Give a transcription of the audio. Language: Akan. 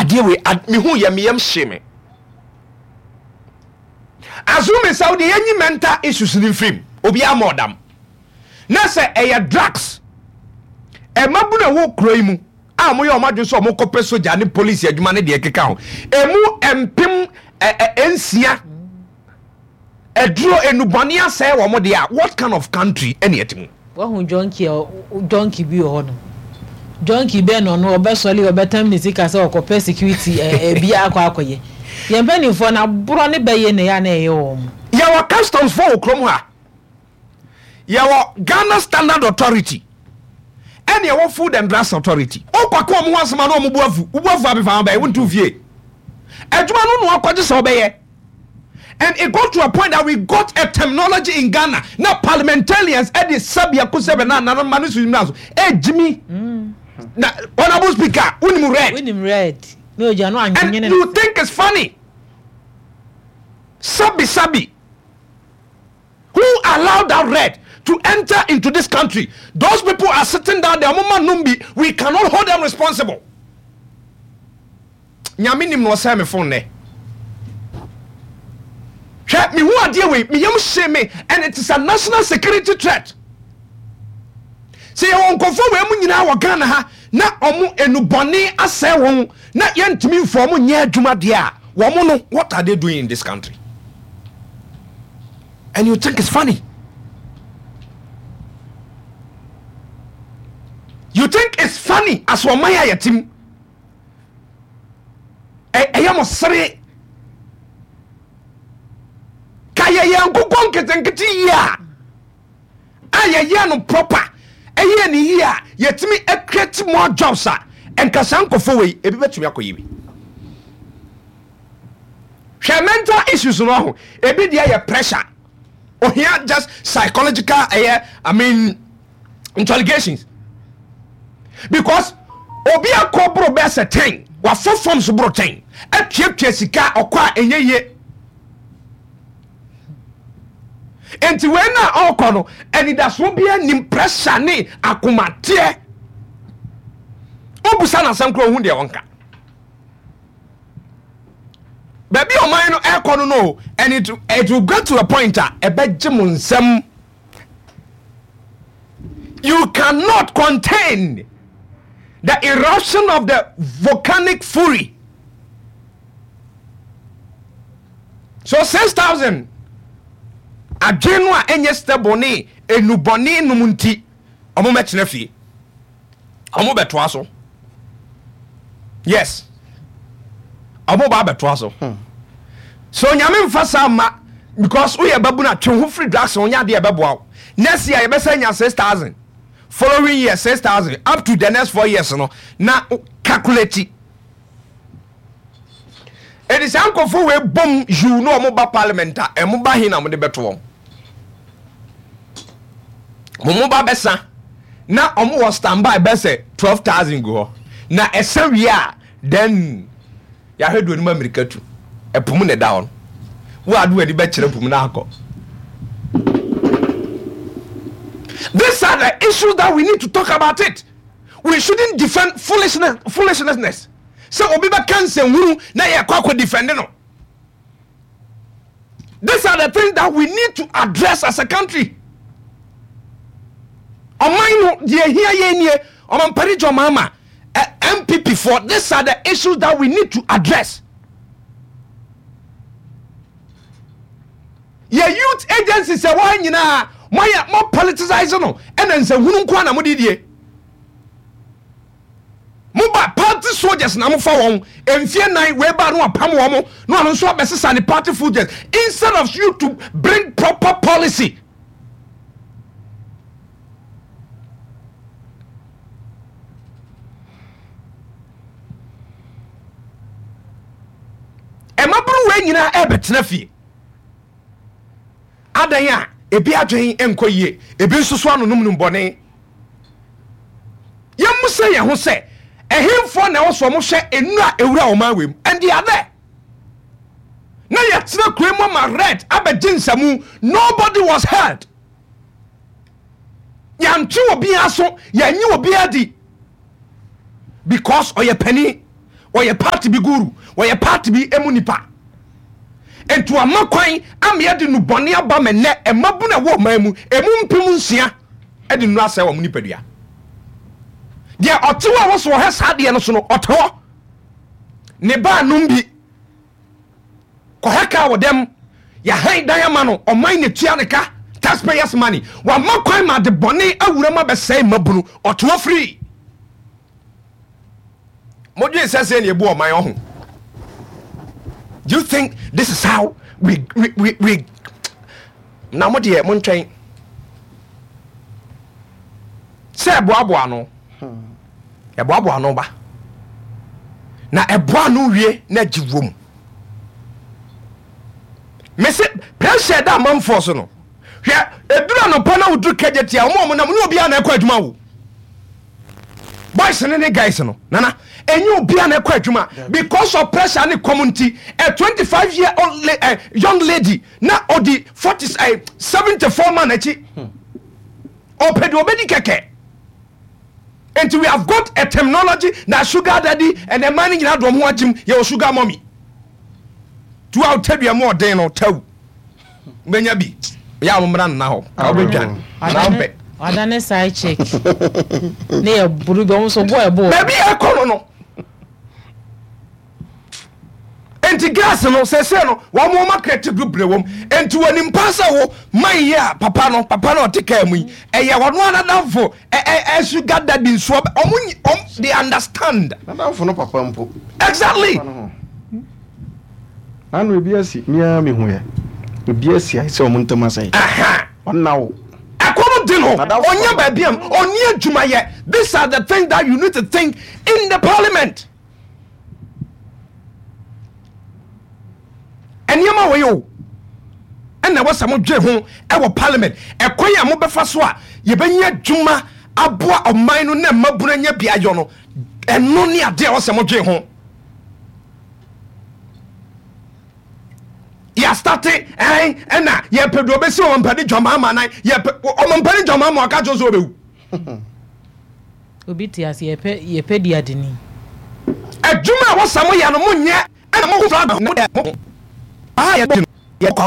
Adeɛ wei mehu yɛ meyam hye me. Assuming sɛ wodeɛ yɛnyi mental issues no mfirim, obiara ma ɔdam. Na sɛ ɛyɛ drugs, mmabunu a ɛwɔ kuro yi mu a wɔyɛ wɔn adwene sɛ wɔkɔpɛ sogya ne polisi adwuma ne deɛ ɛkeka ho, ɛmu mpem nsia aduro nnubɔne asɛe wɔn deɛ a, what kind of country ɛne ɛte mu? Wahu junkie a junkie bi wɔ hɔ nom. Junkie bɛn na ɔno ɔbɛsɔre ɔbɛtam ne sika sɛ ɔkɔpɛ security ɛɛ bi akɔ akɔyɛ. Yɛn mpanimfoɔ no aborɔ ne bɛyɛ na ɛyɛ a na ɛyɛ wɔn. Yɛwɔ customs foɔ wɔ kurom ha. Yɛwɔ Ghana Standard Authority ɛne ɛwɔ Food and Drugs Authority. Wokɔka wɔn ho asɛm a na wɔn bo afu. Wo bo afu a mefa ho bɛyɛ wontu fie. Adwuma no na wakɔgye sɛ ɔbɛyɛ. And it got to a point that we got a terminology in Ghana na parliamentarians ɛde sɛbi ako sɛbi na nana ma ne so nyina so ɛgyimi. Na honourable speaker wonim red. Wonim red. Na ogya no And anwenwene. you think it's funny. Sabi sabi. Who allowed that red to enter into this country? Those people are sitting down there. Ɔmo ma nom bi. We cannot hold them responsible. Nyame nim na ɔsɛe me phone nɛ. Hwɛ, mehu adeɛ wei, me yam hye me and it is a national security threat. Sɛ yɛwɔ nkurɔfoɔ wei mu nyinaa wɔ Ghana ha na ɔmo enubɔne asɛe wɔn na yɛntumi mfa ɔmo nyɛ adwuma deɛ a, wɔn no, what are they doing in this country? And you think it's funny? You think it's funny as ɔman a yɛte mu? Ɛyɛ mo sere. Ka yɛyɛ nkokɔ nketenkete yie a, a yɛyɛ no proper, ɛyɛ ne yie a, yɛtumi create more jobs a, nka saa nkɔfo wei ebi bɛtumi akɔyɛ bi. Hwɛ mental issues no ho, ebi deɛ yɛ pressure, ohia just psychological ɛyɛ, I mean interrogations, because obi akɔ boro bɛɛ sɛ 10, wafɔ forms boro 10, atuatua sika ɔkɔ a ɛnyɛ yie. Nti wei na ɔkɔ no anidasoɔ biara nim, pressure ne akomateɛ. Wobusa no asɛm koraa ohu deɛ ɔnka. Baabi a ɔman no ɛkɔ no no, and it will get to a point a ɛbɛgye mo nsam. You cannot contain the eruption of the volcanic fury. So 6,000 adwene no a ɛnyɛ stable ne enubɔne nom nti ɔmo mɛtena fie, ɔmo bɛtoa so. Yes, ɔmo ba bɛtoa so. So Nyame nfa saa ma because woyɛ babunu a twe ho firi drugs ho, nyɛ adeɛ ɛbɛboa wo. Next year yɛbɛsɛ nya 6,000, following year 6,000, up to the next 4 years no na calculate. Ɛdi saa nkurɔfoɔ wei bom yiw na wɔn ba parliament a, ɛmo ba he na wɔde bɛto wɔn? Wɔn ba bɛsa na wɔn wɔ standby bɛsɛ 12,000 gu hɔ na ɛsa wie a, then yɛahwɛ do anim amirika tu ɛpo mu na ɛda hɔ no, wo ade w'ani bɛkyerɛ po mu na akɔ. These are the issues that we need to talk about it. We shouldn't defend foolishness, foolishness. Sɛ obi bɛka nsɛnhunu na yɛkɔ akɔ defend no. These are the things that we need to address as a country. Ɔman no deɛ ehia yɛn nie, ɔmampani John Mahama, NPP for, these are the issues that we need to address. Yɛ youth agencies ɛwɔ ha nyinaa, moayɛ mo politicize no, ɛna nsɛnhunu nko na mode die. Moba party soldiers na mofa wɔn mfie 4 wei ba no apam wɔn na ɔno nso abɛsesa ne party soldiers instead of you to bring proper policy. Ɛmaburu wei nyinaa ɛbɛtena fie. Adan a ebi adwen nkɔ yie, ebi nso so anonom nom bɔne. Yɛmmisa yɛn ho sɛ, ɛhenfoɔ na ɛwɔ so wɔhwɛ nnuro a ɛwura ɔman wei mu? And they are there. Na yɛtena kuro mu ama red abɛgye nsamu. Nobody was heard. Yɛantwe obiara so, yɛnye obiara di. Because ɔyɛ panin. Ɔyɛ party bi guru, ɔyɛ party bi emu nipa. Nti wama kwan ama yɛde nnubɔne aba ma nnɛ mmabunu a ɛwɔ ɔman mu, emu 6000 de nnuru asɛe wɔn nipadua. Deɛ ɔte hɔ a wɔsɔ ɔhwɛ saa adeɛ no so no, ɔte hɔ. Ne ba nom bi. Kɔhɛ kaa wɔ dɛm. Yɛahan dan ama no, ɔman na etua ne ka, taxpayers money. Wama kwan ma ade bɔne awura mu abɛsɛe mmabunu. Ɔte hɔ free. Modwen sɛ sɛ na ebu ɔman ɔho. Do you think this is how we na mo deɛ montwɛn sɛ ɛboaboa ano ɛboaboa ano ba na ɛboa ano wie na agye wom mese pressure ɛda amanfoɔ so no hwɛ ɛduru anɔpa na woduru kagya tia wɔn a wɔnam ne obiara na ɛkɔ adwuma wo boys ne ne guys no nana ɛnyɛ obiara na ɛkɔ adwuma because of pressure ne kɔm nti a 25 year old eh, young lady na ɔdi 40 eh, 74 man akyi ɔpɛ deɛ ɔbɛdi kɛkɛ nti we have got a terminology na sugar daddy and ɛma no nyinaa dɔm ho agyim yɛwɔ sugar mommy tu a wotadua mu ɔden no tawu bɛnya bi yɛ a mommra nna hɔ ka wobɛdwan anaa wompɛ ɔda ne side chick ne yɛ buru bi ɔmo nso bɔ ɛbɔ baabi a ɛkɔ no no nti gas no sɛsɛ no wɔn wɔn akɛte bebree wɔm nti wɔn nipa sɛ wo man yi a papa no papa no ɔte kaa mu yi ɛyɛ wɔn anadamfo ɛ ɛ ɛ sugar daddy nso wɔn wɔn they understand. Nadamfo no papa mpo. Exactly. Nano ebi asi me ara mehu yɛ. Ebi asi ayɛ sɛ wɔn ntam asɛe. Ɔnna wo. Ɛkɔm de no ɔnyɛ baabi a ɔni adwuma yɛ these are the things that you need to think in the parliament. Nneɛma wɔ yɛ o ɛna ɛwɔ sɛ modwe ho ɛwɔ parliament ɛkwan a mobɛfa so a yɛbɛnya adwuma aboa ɔman no na mmabunu anya bi ayɔ no ɛno ne adeɛ a ɛwɔ sɛ modwe ho. Yɛastate ɛn ɛna yɛpɛ deɛ ɔbɛsi ɔmampani dwamaama nan yɛpɛ ɔmampani dwamaama ɔka kyerɛ sɛ ɔbɛwu. Obi te ase yɛpɛ yɛpɛ di adeni. Adwuma a wɔsa mo yɛ no mo nyɛ ɛna mo fura mo dɛ mo baa yɛ di no yɛ kɔ.